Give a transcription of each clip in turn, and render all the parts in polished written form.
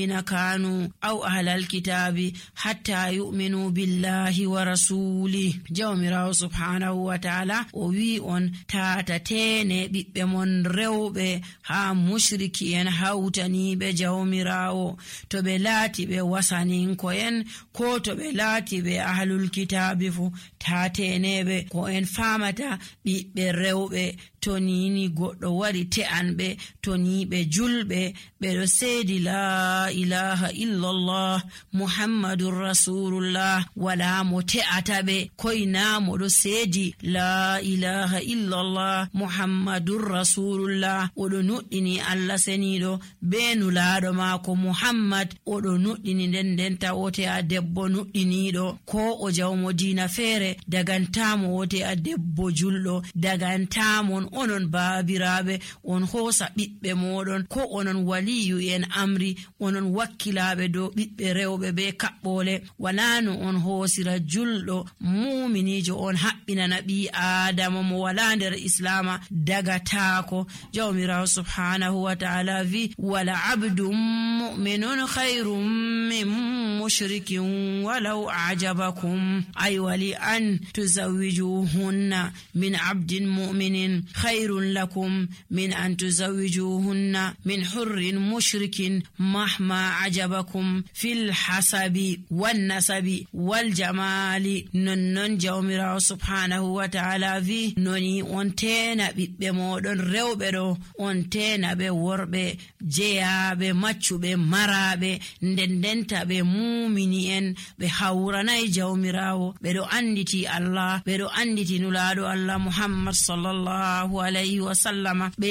كانوا أو أهل الكتاب حتى يؤمنوا بالله ورسوله. جوميراو سبحانه وتعالى وي on tatatene ɓiɓɓe mon rewɓe ha mushriki en hawtaniɓe jawmirawo to ɓe laati ɓe wasaninko'en ko to ɓe laati ɓe ahlul kitabi fu tateneɓe ko en famata ɓiɓɓe rewɓe to nini goɗɗo wari te'anɓe to ni ɓe julɓe ɓeɗo seedi la ilaha illallah muhammadur rasulullah wala mo te'ata ɓe koyna moɗo seedi la ilaha illallah muhammadur rasulullah oɗo nuɗɗini Allah seniɗo be nulaɗo maako muhammad oɗo nuɗɗini nden tawote a debbo nuɗɗiniɗo ko o jawmo diina feere dagantamo wote a debbo julɗo dagantamon onon baabiraɓe on hoosa ɓiɓɓe moɗon ko onon waliyu en amri onon wakkilaɓe dow ɓiɓɓe rewɓe be kaɓɓole wala no on hoosira julɗo muminijo on haɓɓinana ɓi adama mo wala nder islama dagatako. jawmirawo subhanahu wa ta'ala vi wala abdum mu'minun khairum min mushrikin walau a'jabakum ay wali an tuzawwijuhunna min abdin mu'minin khairun lakum min an tuzawwijuhunna min hurrin mushrikin mahma ajabakum fil hasabi wan nasabi wal jamali. nonnon jawmirawo subhanahu wa ta'ala vi noni on tena ɓiɓɓe moɗon rewɓe ɗo on tena ɓe worɓe jeyaɓe maccuɓe maraɓe ndendenta ɓe mumini en ɓe hawranayi jawmirawo ɓeɗo anditi Allah ɓeɗo anditi nulaɗo Allah muhammad sallallahu alayhi wa sallama ɓe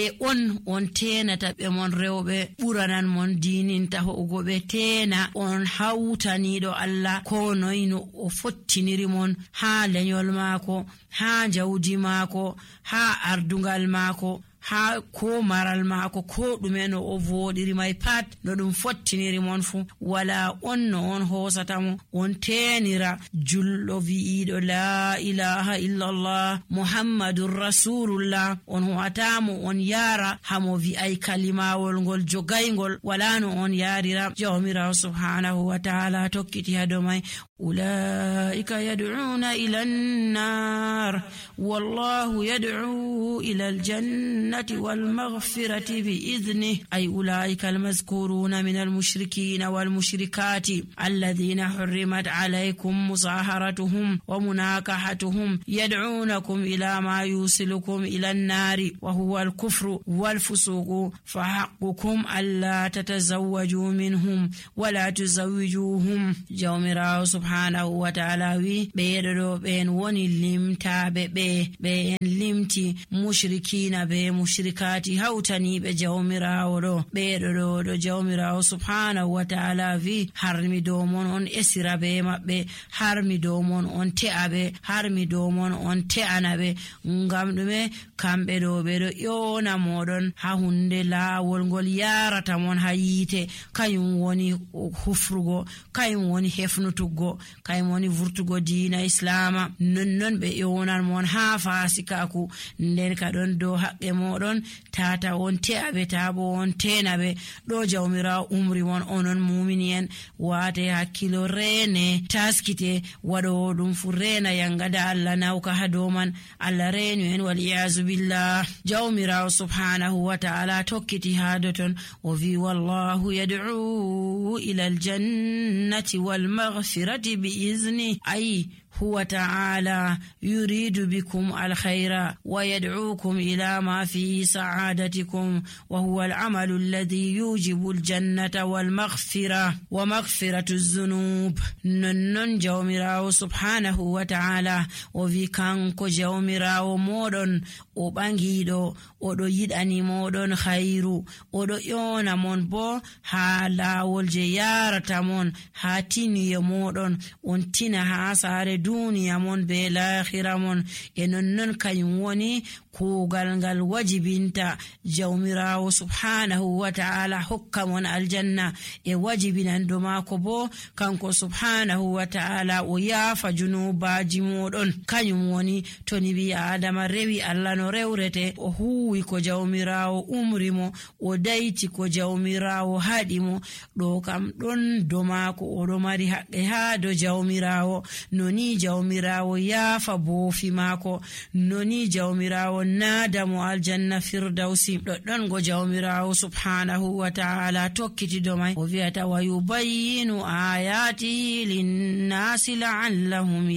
on tenata ɓe mon rewɓe ɓuranan mon dininta ho'ugo ɓe tena on hawtaniɗo Allah ko noyno o fottiniri mon ha lenyol maako ha jawdi maako ha ardungal maako ha ko maral maako ko ɗume no o voɗiri may pat no ɗum fottiniri mon fu wala on no on hoosatamo on tenira julɗo wi'iɗo la ilaha illallah muhammadur rasulullah on ho'atamo on yara hamo wi'ay kalimawol ngol jogaygol wala no on yarira. jawmirawo subhanahu wa ta'ala tokkiti hado may ulaika yad'una ila an-nar wallahu yad'u ila al-jannah والمغفرة بإذنه أي أولئك المذكورون من المشركين والمشركات الذين حرمت عليكم مصاهرتهم ومناكحتهم يدعونكم إلى ما يوصلكم إلى النار وهو الكفر والفسوق فحقكم ألا تتزوجوا منهم ولا تزوجوهم. jawmirawo subhanahu wa ta'ala wi ɓeɗo ɓen woni limtaɓe ɓe en limti mushrikina be mushrikati hawtaniɓe jawmirawo ɗo ɓeɗo ɗo jawmirawo subhanahu wa ta'ala wi harmi dow mon on esira be maɓɓe harmi dow mon on te'aɓe harmi dow mon on te'anaɓe ngam ɗume kamɓe ɗo ɓeɗo ƴona moɗon ha hunde laawol ngol yarata mon ha yiite kayum woni hufrugo kayum woni hefnutuggo kayum woni vurtugo diina islama nonnon ɓe ƴonan mon ha fasikaku nden ka ɗon dow haqqe moɗon tata on te'aɓe tabo on tenaɓe ɗo jawmirawo umri mon onon mumini en wate hakkilo rene taskite waɗowo ɗum fu rena yangada Allah nawka ha dow man Allah renu en wal iyazu billah. jawmirawo subhanahu wa ta'ala tokkiti ha doton o vi wallahu yad'u ila al-jannati wal maghfirati bi izni ay هو تعالى يريد بكم الخير ويدعوكم إلى ما فيه سعادتكم وهو العمل الذي يوجب الجنة والمغفرة ومغفرة الذنوب. ننن جومراو سبحانه وتعالى وفي كانكو جومراو مودن o ɓangiɗo oɗo yiɗani moɗon khairu oɗo ƴona mon bo ha lawol je yarata mon ha tiniye moɗon on tina ha sare duniya mon be lahira mon e nonnon kanyum woni kuugal ngal wajibinta jawmirawo subhanahu wa ta'ala hokka mon aljanna e wajibinan do maako bo kanko subhanahu wa ta'ala o yaafa junubaji modon kanyum woni to ni bi adama rewi Allah no rewrete o huwi ko jawmirawo umri mo o dayti ko jawmirawo haɗi mo ɗo kam ɗon do maako o ɗo mari haqqe haa do jawmirawo noni jawmirawo yaafa boofi maako noni jawmirawo naada mo aljanna firdausi ɗoɗɗon go jawmirawo subhanahu wa ta'ala tokkiti do mai o wi'ata wa yubayyinu ayatihi linnasi la'allahum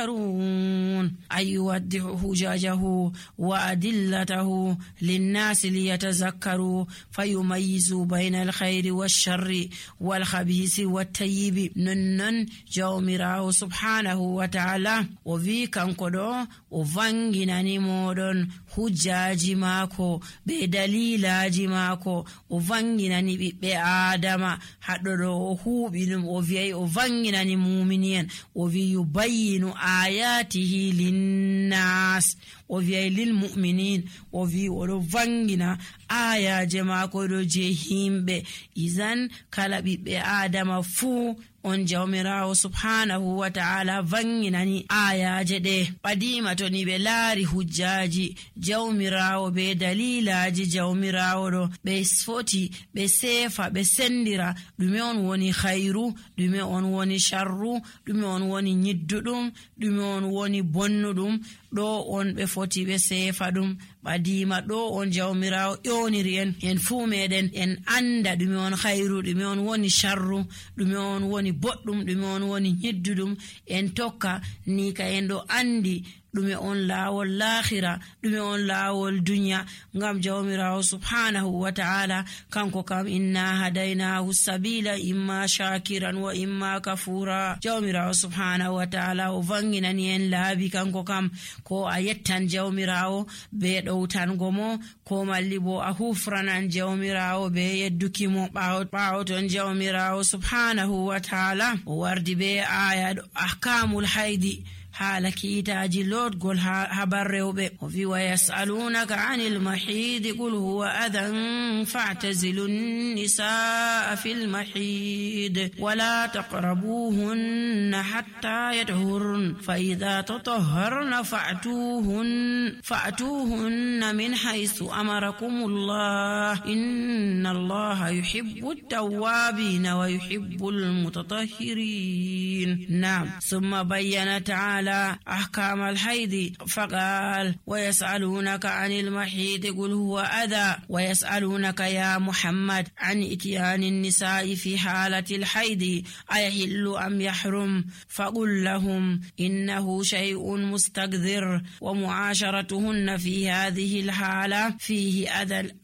yatadhakkarun ay yuwaddihu hujajahu wa adillatahu linnasi liyatazakkaru fayumayyizu bayna alkhayri wash-sharri wal-khabisi wat-tayyibi nonnon jawmirawo subhanahu wa ta'ala o wi kanko ɗo o vanginani moɗon hujjaji maako be dalilaji maako o vanginani ɓiɓɓe adama haɗo ɗo o huuɓi ɗum o wi'ay o vanginani mumini'en o wi yubayyinu ayatihi linnas o wi'ay lil mu'minin o wi oɗo vangina ayaje maako ɗo je himɓe izan kala ɓiɓɓe adama fuu on jawmirawo subhanahu wa ta'ala vanginani ayaje ɗe ɓadima to ni ɓe laari hujjaji jawmirawo be dalilaji jawmirawo ɗo ɓe foti ɓe sefa ɓe sendira ɗume on woni khairu ɗume on woni sharru ɗume on woni nyidduɗum ɗume on woni bonnuɗum ɗo on ɓe foti ɓe sefa ɗum ɓadima ɗo on jawmirawo ƴoniri en fuu meɗen en anda ɗume on khairu ɗume on woni sharru ɗume on woni boɗɗum ɗume on woni nyidduɗum en tokka ni ka en ɗo andi ɗume on laawol lahira ɗume on laawol duniya ngam jawmirawo subhanahu wa ta'ala kanko kam inna hadaynahu sabila imma shakiran wa imma kafura jawmirawo subhanahu wa ta'ala o vanginani en laabi kanko kam ko a yettan jawmirawo be ɗowtango mo ko malli bo a hufranan jawmirawo be yeddukimo ɓawo ton jawmirawo subhanahu wa ta'ala o wardi be aya ɗo ahkamul haydi haala kiitaji lotgol habar rewɓe o wi wa yasalunaka anil mahidi qul huwa adan fa'tazilu nisaa fil mahid wala taqrabuhunna hatta yatahurn fa idha tatahharna fa'tuhunna min haythu amarakumullah inna allaha yuhibbu at-tawwabin wa yuhibbu al-mutatahhirin na'am thumma bayyana ta'ala أحكام الحيض فقال ويسألونك عن المحيض قل هو أذى ويسألونك يا محمد عن إتيان النساء في حالة الحيض أيحل أم يحرم فقل لهم إنه شيء مستقذر ومعاشرتهن في هذه الحالة فيه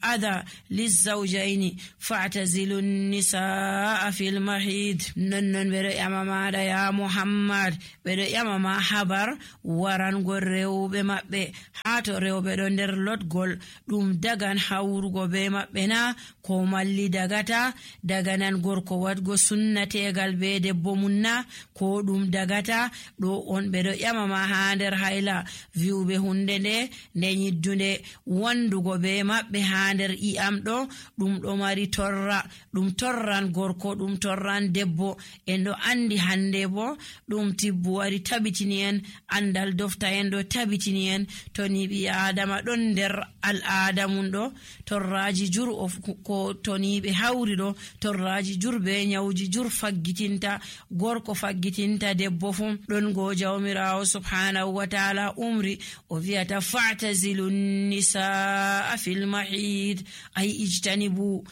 أذى للزوجين فاعتزلوا النساء في المحيض ننن برئ أمام يا محمد برئ أمام habar warangol rewɓe maɓɓe haa to rewɓe ɗo nder lotgol ɗum dagan hawrugo be maɓɓe na ko malli dagata daganan gorko wadgo sunnategal be debbo mum na ko ɗum dagata ɗo on ɓe ɗo ƴamama haa nder hayla viwɓe hunde nde nyiddunde wandugo be maɓɓe haa nder i'am ɗo ɗum ɗo mari torra ɗum torran gorko ɗum torran debbo en ɗo andi hande bo ɗum tibbu wari tabitini en andal dofta en ɗo tabitini en to ni ɓi adama ɗon nder al'ada mum ɗo torraji jur ko to ni ɓe hawri ɗo torraji jur be nyawji jur faggitinta gorko faggitinta debbo fu ɗon go jawmirawo subhanahu wa ta'ala umri o wi'ata fa'tazilu nisaa fil mahid ay ijtanibu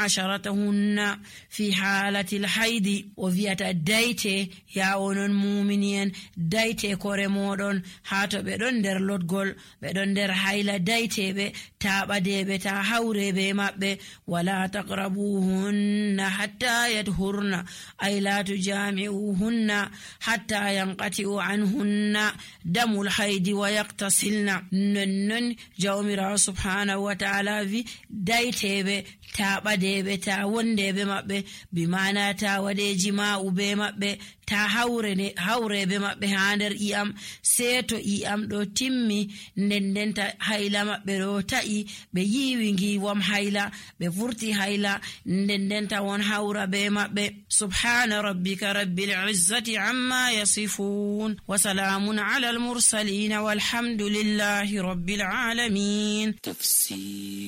mu'asharatahunna fi halati al-haidi o wi'ata dayte ya onon mu'minin dayte kore moɗon haa to ɓe ɗon nder lotgol ɓe ɗon nder hayla dayteɓe taɓadeɓe ta hawreɓe maɓɓe wala taqrabuhunna hatta yadhurna ay la tujami'uhunna hatta yanqati'u anhunna damul haydi wa yaqtasilna nonnon jawmirawo subhanahu wa ta'ala wi dayteɓe taɓadeɓe ta wondeɓe maɓɓe bimana ta waɗe jima'u be maɓɓe ta hawrebe maɓɓe ha nder iyam, sei to iyam ɗo timmi ndendenta hayla maɓɓe ɗo ta'i, ɓe yiwi ngiwam hayla, ɓe vurti hayla, ndendenta won hawra be maɓɓe. Subhana rabbika rabbil izzati amma yasifun wa salamun ala al mursalin walhamdulillahi rabbil alamin. Tafsir